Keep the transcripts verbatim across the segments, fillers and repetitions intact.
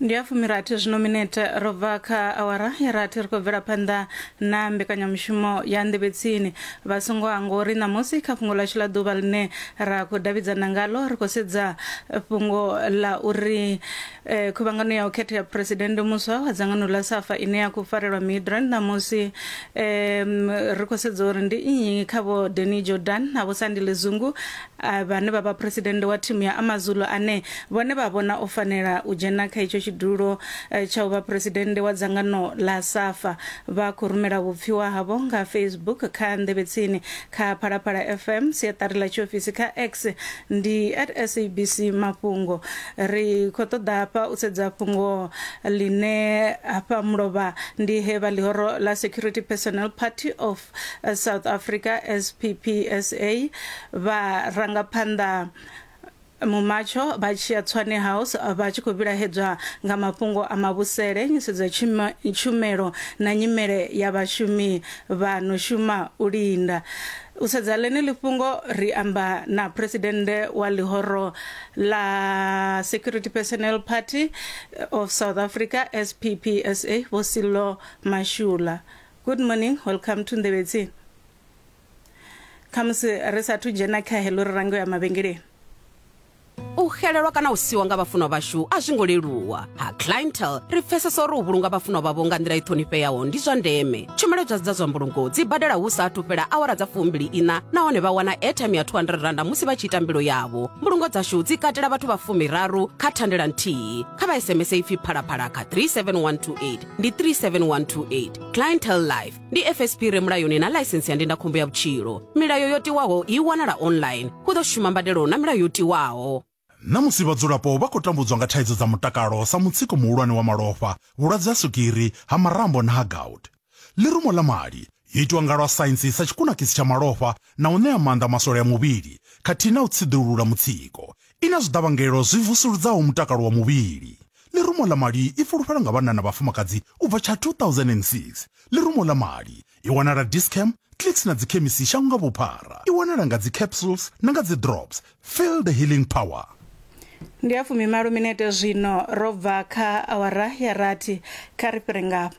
Ndi ya fumirathi zwino minete ro bva kha awara ya rathi, ri khou bvela phanḓa na mbekanyamushumo ya Nḓevhetsini. Vha songo hangwa uri ṋamusi kha fhungo ḽashu ḽa ḓuvha ḽine ra khou davhidzana ngalo, ri khou sedza fhungo ḽa uri eh, khuvhangano ya u khetha ya phuresidennde muswa wa dzangano ḽa SAFA ine ya khou farelwa Midrand ṋamusi, um, ri khou sedza uri ndi nnyi kha vho Danny Jordan na vho Sandile Zungu ah, vhane vha vha phuresidennde wa thimu ya Amazulu ane vhone vha vhona o fanela u dzhena kha itsho tshidulo eh, tsha u vha phuresidennde wa dzangano ḽa SAFA. Vha khou rumela vhupfiwa havho nga Facebook kha Nḓevhetsini kha Phalaphala F M, siaṱari ḽa tshiofisi kha X ndi at S A B C Mafhungo. Ri khou ṱoḓa hafha u sedza fhungo ḽine hafha mulovha ndi he vha ḽihoro ḽa Security Personnel Party of eh, South Africa, S P P S A, vha rangaphanḓa mumatsho vha tshi ya Tshwane House vha tshi khou vhilahedzwa nga mafhungo a mavhusele, nyisedzo ya tshuma- tshumelo na nyimele ya vhashumi vha no shuma u linda. U sedza ḽeneḽi fhungo, ri amba na phuresidennde wa ḽihoro ḽa Security Personnel Party of South Africa, S P P S A, Vho Sello Mashula. Good morning, welcome to Nḓevhetsini. Khamusi ri sathu dzhena kha heḽo, ri range ya mavhengeleni. U xelelwa kana u siwa nga vhafunwa vhashu a zwi ngo leluwa. Ha Clientele ri pfesesa uri u vhulunga vhafunwa vhavho nga nḓila i ṱhonifheaho ndi zwa ndeme. Tshumelo dza dza zwa mbulungo dzi badela hu sa athu fhela awara dza fumbili ina, nahone vha wana airtime ya two hundred randa musi vha tshi ita mbilo yavho. Mbulungo dzashu dzi katela vhathu vha fumiraru kha thandela nthihi. Kha vha S M S ipfi Phalaphala kha three seven one two eight, ndi three seven one two eight. Clientele Life ndi F S P re mulayoni na ḽaisensi ya ndindakhombo ya vhutshilo. Milayo yo tiwaho i wanala online. Hu ḓo shuma mbadelo na milayo yo tiwaho. Ṋamusi vhadzulapo vha khou tambudzwa nga thaidzo dza mutakalo sa mutsiko muhulwane wa malofha, vhulwadze ha swigiri, ha marambo na ha gout. Ḽirumo ḽa mali yo itiwa nga lwa saintsi sa tshikunakisi tsha malofha na u ṋea maanḓa maswole a muvhili khathihi na u tsiḓulula mutsiko. I na zwiḓavhangelo zwi vusuludzaho mutakalo wa muvhili. Ḽirumo ḽa mali i fulufhelwa nga vhanna na vhafumakadzi u bva tsha two thousand and six. Ḽirumo ḽa mali i wanala Dischem, Clicks na dzikhemisi shango nga vhuphara. I wanala nga dzi capsules na nga dzi drops. Feel the healing power. Ndi ya fumimalo minete zwino ro bva kha awara ya rathi. Kha ri fhire ngafha,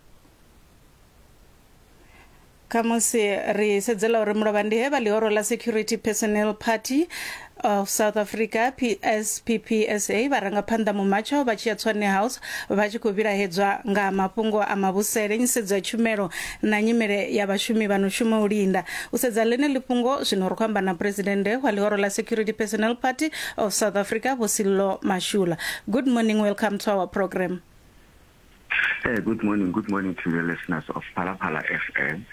khamusi ri sedzela uri mulovha ndi he vha ḽihoro ḽa Security Personnel Party of South Africa, S P P S A, vharangaphanḓa mumatsho vha tshi ya Tshwane House vha tshi khou vhilahedzwa nga mafhungo a mavhusele, nyisedzo ya tshumelo na nyimele ya vhashumi vha no shuma u linda. U sedza ḽeneḽi fhungo zwino, ri khou amba na phuresidennde wa ḽihoro ḽa Security Personnel Party of South Africa, Vho Sello Mashula. Good morning, welcome to our program. Hey, good morning. Good morning to the listeners of Phalaphala F M.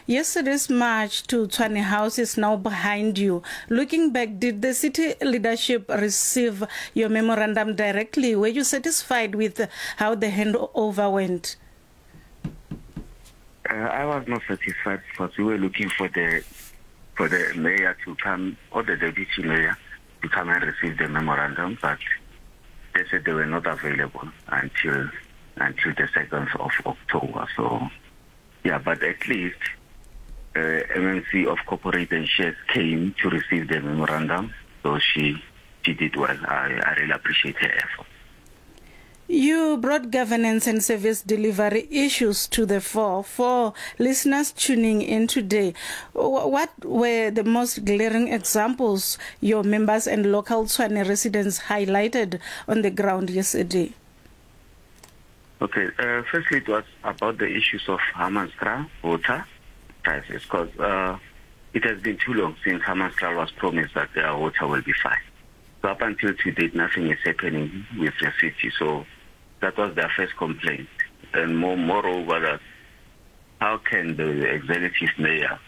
Yesterday's march to Tshwane House is now behind you. Looking back, did the city leadership receive your memorandum directly? Were you satisfied with how the handover went? Uh, I was not satisfied because we were looking for the for the mayor to come or the deputy mayor to come and receive the memorandum, but they said they were not available until until the second of October. So, yeah, but at least uh, M M C of Corporate and Shares came to receive the memorandum, so she she did well. I, I really appreciate her effort. You brought governance and service delivery issues to the fore. For listeners tuning in today, what were the most glaring examples your members and local Tshwane residents highlighted on the ground yesterday? Okay, uh, firstly, it was about the issues of Hammanskraal water crisis, because uh, it has been too long since Hammanskraal was promised that their water will be fine. So up until today, nothing is happening with the city. So that was their first complaint. And more, moreover, that how can the executive mayor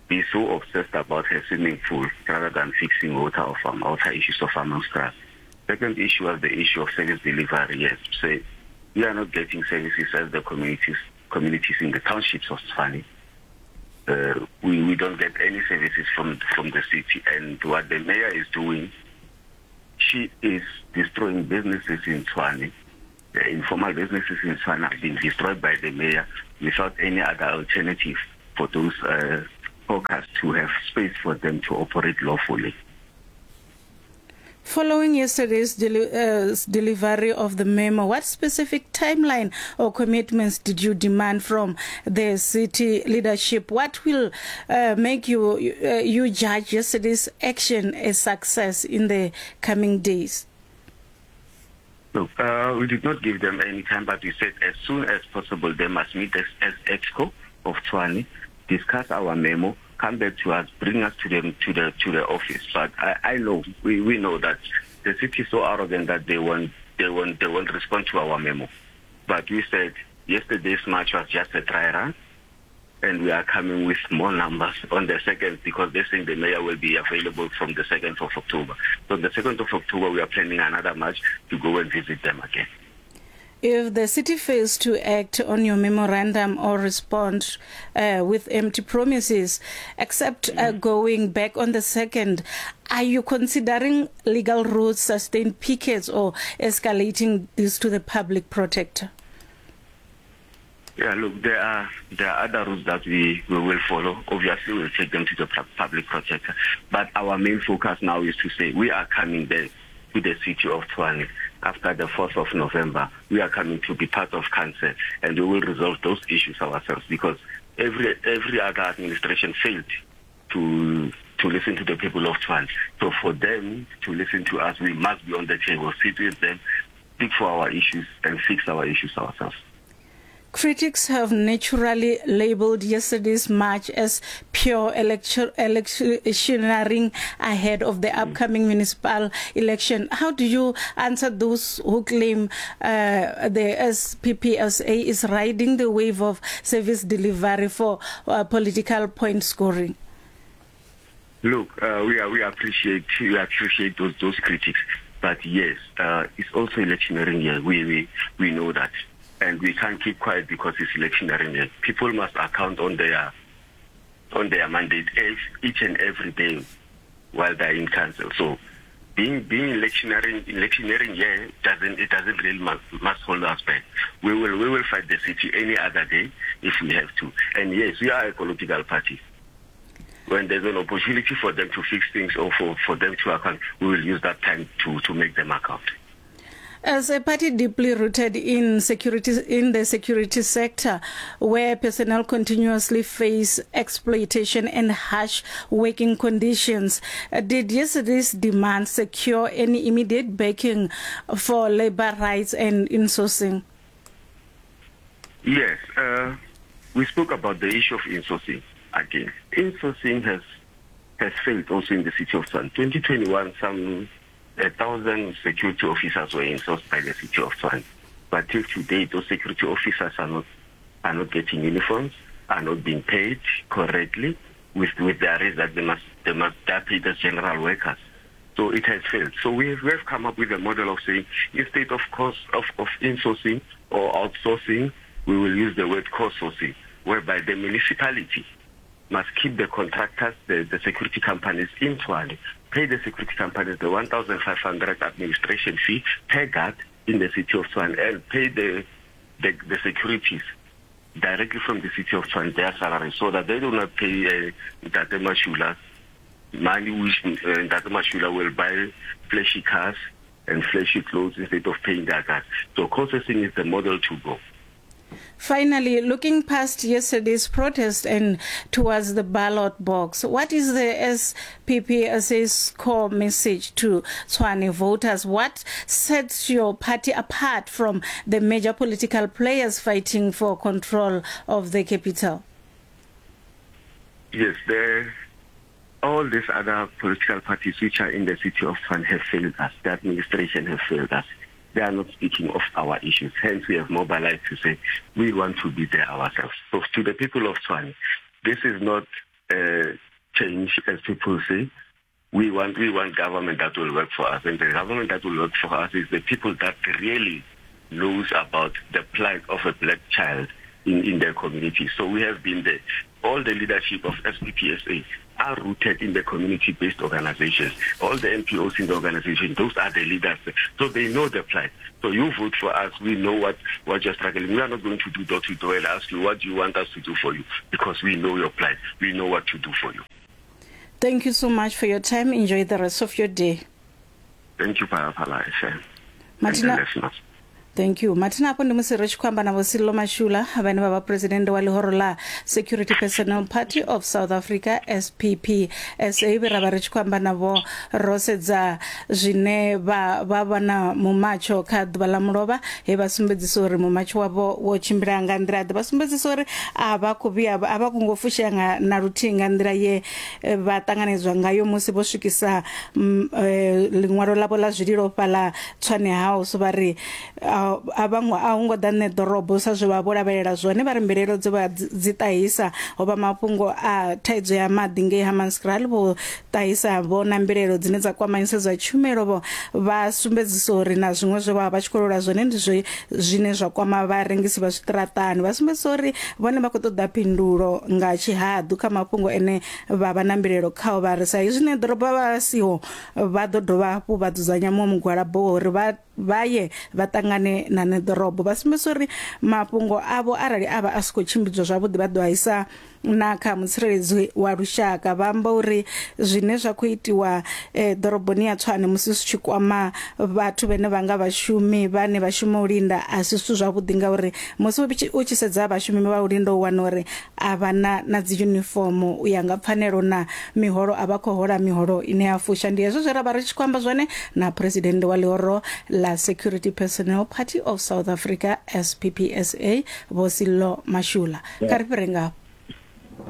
be so obsessed about her swimming pool rather than fixing water of um, water issues of Hammanskraal? Second issue was the issue of service delivery. Yes, so we are not getting services as the communities communities in the townships of Tshwane. Uh, we, we don't get any services from from the city. And what the mayor is doing, she is destroying businesses in Tshwane. The informal businesses in Tshwane have been destroyed by the mayor without any other alternative for those uh, hawkers to have space for them to operate lawfully. Following yesterday's deli- uh, delivery of the memo, what specific timeline or commitments did you demand from the city leadership? What will uh, make you, uh, you judge yesterday's action a success in the coming days? Look, uh, we did not give them any time, but we said as soon as possible they must meet us as EXCO of Tshwane, discuss our memo, come back to us, bring us to them to the to the office. But I, I know we, we know that the city is so arrogant that they won't they won't they won't respond to our memo. But we said yesterday's march was just a dry run, and we are coming with more numbers on the second, because they think the mayor will be available from the second of October. So on the second of October we are planning another march to go and visit them again. If the city fails to act on your memorandum or respond uh, with empty promises, except uh, going back on the second, are you considering legal routes, sustained pickets, or escalating this to the public protector? Yeah, look, there are there are other routes that we, we will follow. Obviously, we'll take them to the public protector. But our main focus now is to say we are coming there to the city of Tshwane after the fourth of November. We are coming to be part of council, and we will resolve those issues ourselves, because every every other administration failed to to listen to the people of Tshwane. So for them to listen to us, we must be on the table, sit with them, speak for our issues, and fix our issues ourselves. Critics have naturally labeled yesterday's march as pure election, electioneering ahead of the upcoming municipal election. How do you answer those who claim uh, the S P P S A is riding the wave of service delivery for uh, political point scoring? Look, uh, we are, we appreciate we appreciate those those critics, but yes, uh, it's also electioneering year. We we we know that. And we can't keep quiet because it's electioneering year. People must account on their on their mandate each and every day while they're in council. So being being electioneering electioneering year doesn't it doesn't really must, must hold us back. We will we will fight the city any other day if we have to. And yes, we are a political party. When there's an opportunity for them to fix things or for, for them to account, we will use that time to, to make them account. As a party deeply rooted in security, in the security sector, where personnel continuously face exploitation and harsh working conditions, did yesterday's demand secure any immediate backing for labor rights and insourcing? Yes, uh, we spoke about the issue of insourcing again. Insourcing has has failed also in the city of Tshwane. twenty twenty-one, some a thousand security officers were insourced by the city of Tshwane. But till today, those security officers are not are not getting uniforms, are not being paid correctly, with with the arrest that they must they must they are paid as general workers. So it has failed. So we have, we have come up with a model of saying, instead of cost of, of insourcing or outsourcing, we will use the word co-sourcing, whereby the municipality must keep the contractors, the, the security companies in Tshwane, pay the security companies the one thousand five hundred administration fee per guard in the city of Tshwane, and pay the, the, the securities directly from the city of Tshwane their salary, so that they do not pay uh, Ntate Mashula money, which uh, Ntate Mashula will buy flashy cars and flashy clothes instead of paying their guards. So co-sourcing is the model to go. Finally, looking past yesterday's protest and towards the ballot box, what is the S P P S A's core message to Tshwane voters? What sets your party apart from the major political players fighting for control of the capital? Yes, the, all these other political parties which are in the city of Tshwane have failed us. The administration has failed us. They are not speaking of our issues. Hence, we have mobilized to say we want to be there ourselves. So to the people of Tshwane, this is not a change, as people say. We want, we want government that will work for us. And the government that will work for us is the people that really knows about the plight of a black child in, in their community. So we have been there. All the leadership of S P P S A are rooted in the community-based organizations. All the N P Os in the organization, those are the leaders. So they know the plight. So you vote for us, we know what, what you're struggling. We are not going to do door-to-door and ask you, what do you want us to do for you? Because we know your plight. We know what to do for you. Thank you so much for your time. Enjoy the rest of your day. Thank you, Phalaphala F M. Martina, thank you. Martina, afho ndi musi ri tshi khou amba na Vho Sello Mashula vhane vha vha president wa ḽihoro ḽa Security Personnel Party of South Africa S P P S A. Vhe ra vha ri tshi khou amba navho ro sedza zwine vha vha vha na mumatsho kha ḓuvha ḽa mulovha, he vha sumbedzisa uri mumatsho wavho wo tshimbila nga nḓila ḓe, vha sumbedzisa uri a vha khou vhuya a vha kungo fushea nga na luthihi nga nḓila ye vha ṱanganedzwa ngayo musi vho swikisa ḽiṅwalo ḽavho ḽa zwililo fhaḽa Tshwane House. Vha ri a vhaṅwe a hu ngo ḓa nṋe ḓorobo sa zwe vha vho lavhelela zwone, vha ri mbilaelo dze vha dzi ṱahisa ho vha mafhungo a thaidzo ya maḓi ngei Hammanskraal, vho ṱahisa vho na mbilaelo dzine dza kwama nyisedzo ya tshumelo, vho vha sumbedzisa uri na zwiṅwe zwe vha vha tshi khou lwela zwone ndi zwe zwine zwa kwama vharengisi vha zwiṱaraṱani. Vha sumbedzisa uri vhone vha khou ṱoḓa phindulo nga tshihaḓu kha mafhungo ene vha vha na mbilaelo khao, vha ri sa izwi nṋe ḓorobo vha siho vha ḓo dovha hafhu vha dzudzanya muṅwe mugwalabo wa uri vha vha ye vha ṱangane na ṋeḓorobo. Vha sumbedzisa uri mafhungo avho arali a vha a si khou tshimbidzwa zwavhuḓi vha ḓo a isa na kha mutsireledzi wa lushaka. Vha amba uri zwine zwa khou itiwa eh, ḓoroboni ya Tshwane musi zwi tshi kwama vhathu vhane vha nga vhashumi vhane vha shuma u linda a si zwithu zwavhuḓi, ngauri musi u tshi sedza vhashumi vha u linda u wana uri a vha na na dzi uniform u ya nga pfanelo na miholo a vha khou hola miholo ine ya fusha. Ndi hezwo zwe ra vha ri tshi khou amba zwone na president wa ḽihoro ḽa Security Personnel Party of South Africa S P P S A Vho Sello Mashula. Kha ri fhire ngafho.